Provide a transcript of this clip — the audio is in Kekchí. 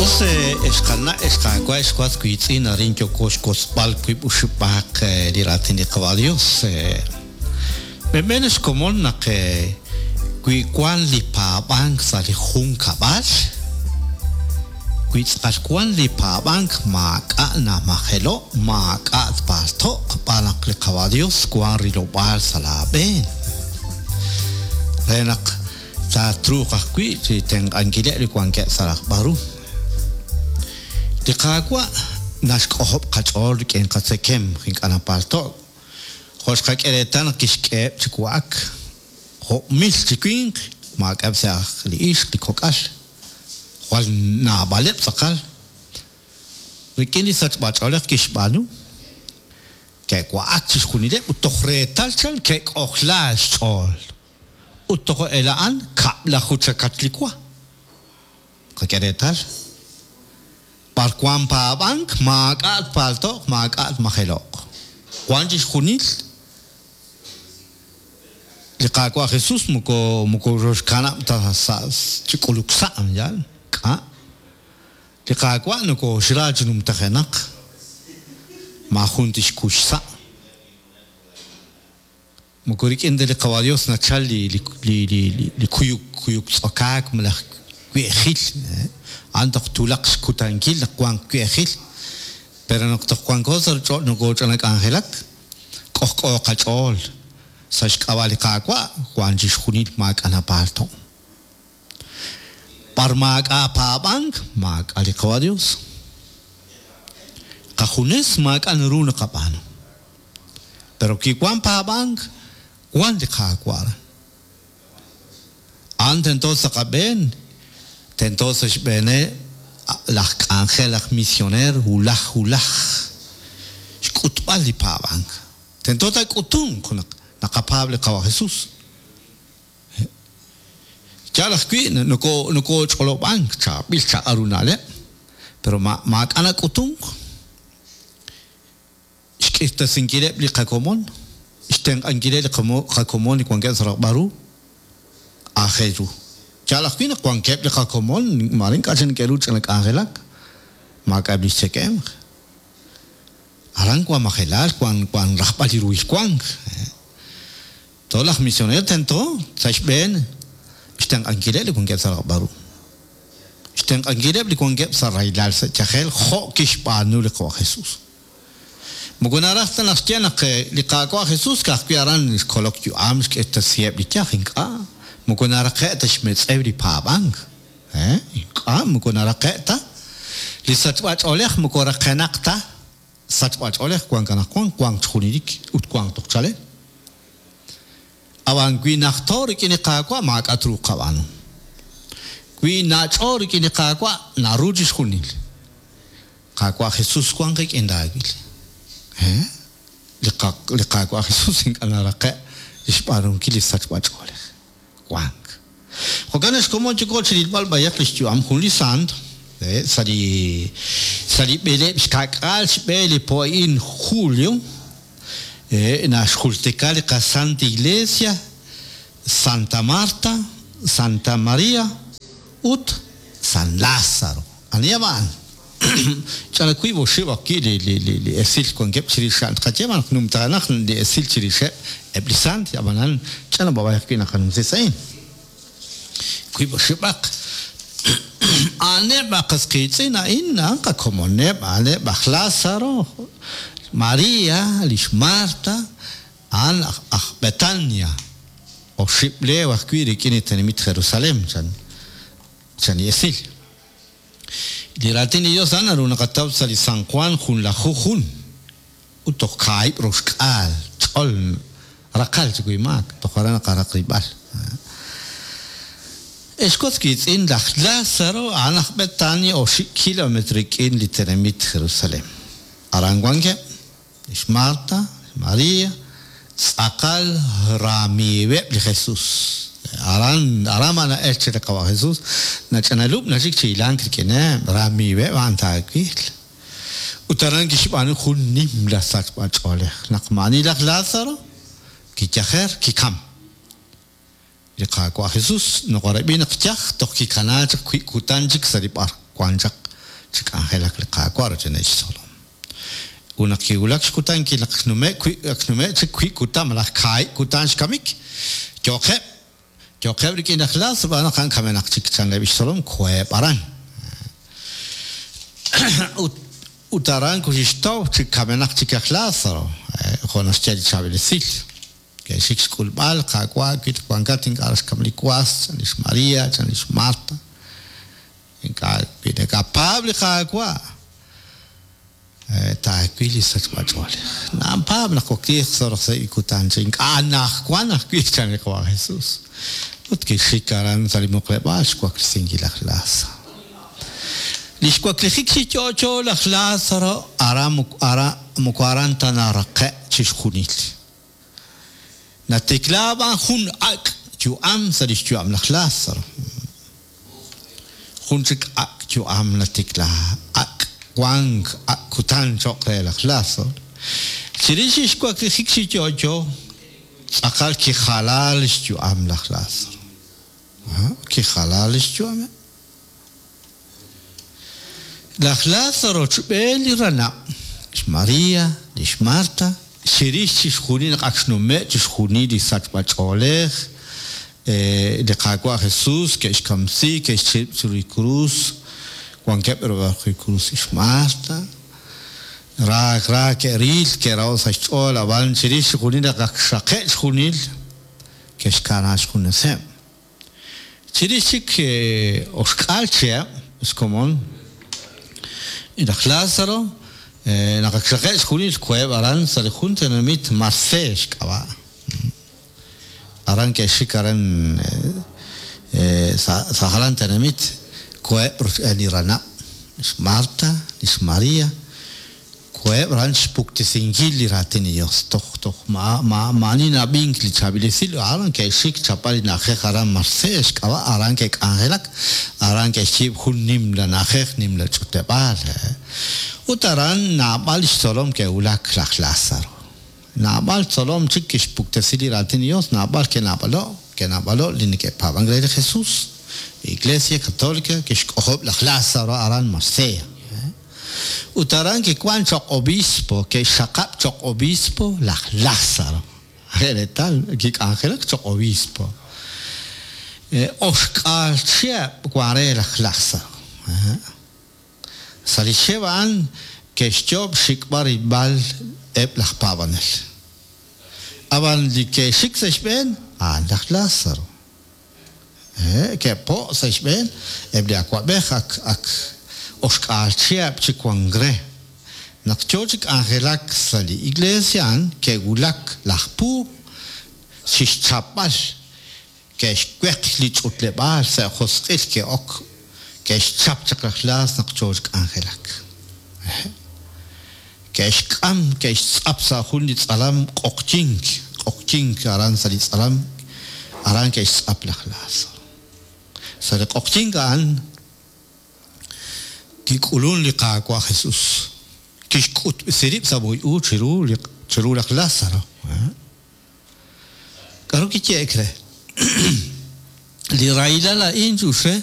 Us ex qana' ex qaawa' ex was wiitz'in arin yooko xwotzb'al wiib' oxib'aq li raatin li Qawa' Dios. B'enb'en xkomon naq wi wan li paab'ank sa' li junkab'al, wi tz'aqal wan li paab'ank maak'a' namajelo', maak'a' tpalto'q xb'aan naq li Qawa' Dios wan rilob'aal sa' laa b'een. Re naq taatruuq ajwi' chi tenq'ankileb' li wankeb' sa' rajb'al ru. Li Qaawa' naxk'ojob' qach'ool rik'in qatzekemq ink'a' napalto'k. Jo' xqak'e reetal naq kixk'eheb' chi wa'ak jo' mil chi winq, maak'a'eb' sa' aj li ixq, li kok'al. Jwal naab'aleb' tz'aqal. Rik'in li sachb'a-ch'oolej kixb'aanu, ke'wa'ak chixjunileb' ut toj reetal chan ke'k'ojla xch'ool. Ut toj ela'an kab'laju chakach li wa. Qak'e reetal, b'ar wank paab'ank, maak'a' tpalto'q, maak'a' tmajelo'q. Wank chixjunil li Qaawa' Jesus moko moko roxkanab' ta sa' chi k'uluk sa', yaal? K'a'? Li Qaawa' nokooxra chi numtajenaq, maajun tixkuy xsa'. Moko rik'in ta li Qawa' Dios nachal li li li li kuyuk kuyuk tz'okaak malaj we'ejil. A'an toj twulaq xkutankil naq wanq we'ejil. Pero naq toj wanko sa' ruuchich'och' nokooch'ana k'anjelak, k'ojk'o qach'ool sa' xk'ab'a' li Qaawa' wank chixjunil maak'a' napaalto'. B'ar maak'a' paab'ank, maak'a' li Qawa' Dios. Qajunes maak'a' naru naqab'aanu. Pero kiwan paab'ank, wan li Qaawa' aran. A'an tento sa' qab'een, tento sa' xb'eeneb' laj k'anjel aj misioneer wulaj wulaj xk'utb'al li paab'ank. Tento taak'utunq naq naqapaab' li Qawa' Jesus. Yaal ajwi' nokooch'olob'ank chaab'il chaq'al ru na'leb', pero maak'a' nak'utunk. Xk'irtasinkileb' li qakomon, xtenq'ankileb' li qakomon li wankeb' sa' rajb'al ru, aajel ru. Yaal ajwi' naq wankeb' li qakomon maare ink'a' chik neke'ru ch'ina k'anjelak, maak'a'eb' lix tzekemq. Aran wan majelal, wan wan rajb'al li ruhil wank. Toj laj misioneer tento sa' xb'een xtenq'ankileb' li wankeb' sa' rajb'al ru. Xtenq'ankileb' li wankeb' sa' rahilal sa' yajel jo' kixb'aanu li Qawa' Jesus. Moko naraj ta naxye naq li Qaawa' Jesus ka'ajwi' aran xkolok yu'am xk'irtasiheb' li yaj, ink'a', moko naraqe' ta xmetz'ew li paab'ank. Ink'a', moko naraqe' ta. Li sachb'a-ch'oolej moko raqenaq ta. Sachb'a-ch'oolej wank anaqwan, wank chi junelik ut wank toj chalel. Ab'an wi najto rik'in li Qaawa' maak'a' truuq qab'aanu. Wi nach'o rik'in li Qaawa' naru chixjunil. Qaawa' Jesus wank qik'in laawil. He? Li Qaawa' Jesus ink'a' naraqe' li xb'aanunkil li sachb'a-ch'oolej. Wank. Jo'kan naq xkomon yooko chi rilb'al b'ayaq lix yu'am jun li sant, sa' li sa' li b'eleeb' xka'k'aal xb'e li po a'in julio, naxjultika li qaSanta Iglesia, Santa Marta, Santa Maria ut San Lazaro. Aniheb' a'an? Ch'ana wiib' oxib' ajwi' li li li li esil wankeb' chirix a'an. Tqaye b'an naq numtajenaq li esil chirixeb' eb' li sant, ab'anan ch'ana b'ab'ay ajwi' naqanumsi sa' a'in. Wiib' oxib'aq. A'aneb' a qas qiitz'in a'in, a'an qakomoneb', a'aneb' aj Lázaro, María, li xMarta, a'an aj Betania, oxib' leew ajwi' rik'in li tenamit Jerusalén, chan chan li esil. Li Raatin li Yos a'an naru naqataw sa' li San Juan junlaju jun ut toj kaahib' roxk'aal ch'ol raqal chi wi maak, toj aran naqaraq rilb'al. Ex was wiitz'in, laj Lázaro a'an aj Betania oxib' kilometro rik'in li tenamit Jerusalén. Aran wankeb' Li xMarta, li xMaria, tz'aqal ramiiweb' li Jesus. Aran, aran b'an na'elk chaq li Qawa' Jesus, nach'analub' naxik chi hilank rik'ineb', ramiiweb' a'an taawil. Ut aran kixb'aanu jun nimla sachb'a-ch'oolej, naq maa'ani laj Lazaro, kiyajer, kikam. Li Qaawa' Jesus nokorab'i naq yaj toj kikanaak chaq wiib' kutan chik sa' li b'ar wan chaq. Chi k'anjelak li Qaawa' rochb'eeneb' xtzolom. Ut naq kiwulak xkutankil naq xnume' wi' ak xnume' chik wiib' kutan malaj kaahib' kutan xkamik, yo'qeb', yo'qeb' rik'in laj Lazaro xb'aan naq a'an kamenaq chik chan eb' xtzolom koheb' aran. Ut ut aran koxixtaw chi kamenaq chik laj Lazaro, jo' naxye li chaab'il esil. Ke'xik xk'ulb'al, Qaawa', wi wankat ink'a' raj xkam li was, chan lix María, chan lix Marta. Ink'a' wi nakapaab' li Qaawa', taawil li sachb'a-ch'oolej. Napaab' naq wakliiq sa' roso'jik li kutan chi ink'a' anajwan ajwi', chan li Qawa' Jesus. Ut kixik aran sa' li muqleb'aal xwaklesinkil laj Lazaro. Li xwaklijik chi yo'yo laj Lazaro aran moko aran ta naraqe' chixjunil. Natikla b'an jun ak' yu'am sa' lix yu'am laj Lazaro. Jun chik ak' yu'am natikla, ak' wank, ak' kutan choq' re laj Lazaro. Chirix lix waklijik chi yo'yo, tz'aqal kijala lix yu'am laj Lazaro. Kijala lix yu'ameb'. Laj Lazaro rochb'een li ranab', xMaria, li xMarta, chirix chixjunil naq ak xnume' chixjunil li sachb'a-ch'oolej, li Qaawa' Jesus ke'xkamsi, ke'xchirib' chiru li krus, wankeb' rub'el li krus li xMarta, ra ra ke'ril, ke'raho' sa' xch'ool, ab'an chirix chixjunil naq ak xraqe' chixjunil, ke'xkana xjuneseb'. Chirix chik oxk'aal chihab' xkomon laj Lázaro, naq ak xraqe'k xjunil xkoheb' aran sa' li jun tenamit Marse xk'ab'a'. Aran ke'xik aran sa' jalan tenamit, koheb' rochb'een li ranab', lix Marta, lix María. Koheb' aran xpuktesinkil li Raatin li Yos. Toj toj maa'ani na'ab'ink li chaab'il esil, aran ke'xik xchapb'al li na'ajej aran Marse xk'ab'a', aran ke'k'anjelak, aran ke'xyiib' jun nimla na'ajej, nimla ch'utleb'aal. Ut aran naab'al li xtzolom ke'wulak laj Lázaro. Naab'al tzolom chik kixpuktesi li Raatin li Yos, naab'al ke'naab'alo', ke'naab'alo' li neke'paab'ank re li Jesus. Li Iglesia Catolica kixk'ojob' laj Lázaro aran Marsella. Ut aran kiwank cho'q obispo, ke'xxaqab' cho'q obispo laj Lázaro. Re reetal, kik'anjelak cho'q obispo. Oxk'aal chihab' wank re laj Lázaro. Sa' li chihab' a'an ke'xyoob' xxik'b'al rilb'al eb' laj paab'anel. Ab'an li ke'xik sa' xb'een, a'an laj Lázaro. Ke'po' sa' xb'een eb' li awa'b'ej ak ak oxk'aal chihab' chi wank re. Naq yoo chi k'anjelak sa' li iglees a'an, ke'wulak laj puub' chixchapb'al, ke'xweq li ch'utleb'aal sa' josq'il ke'ok, ke'xchap chaq laj Laas naq yoo chi k'anjelak. Ke'xk'am, ke'xtz'ap sa' jun li tz'alam q'oqyink, q'oqyink aran sa' li tz'alam, aran ke'xtz'ap laj Lázaro. Sa' li q'oqyink a'an kik'ulun li Qaawa' Jesús, kixk'utb'esi rib' sa' moy u chiru li chiru laj Lázaro. K'aru kiyehe'k re? Li rahilal a'in, ch'uxre.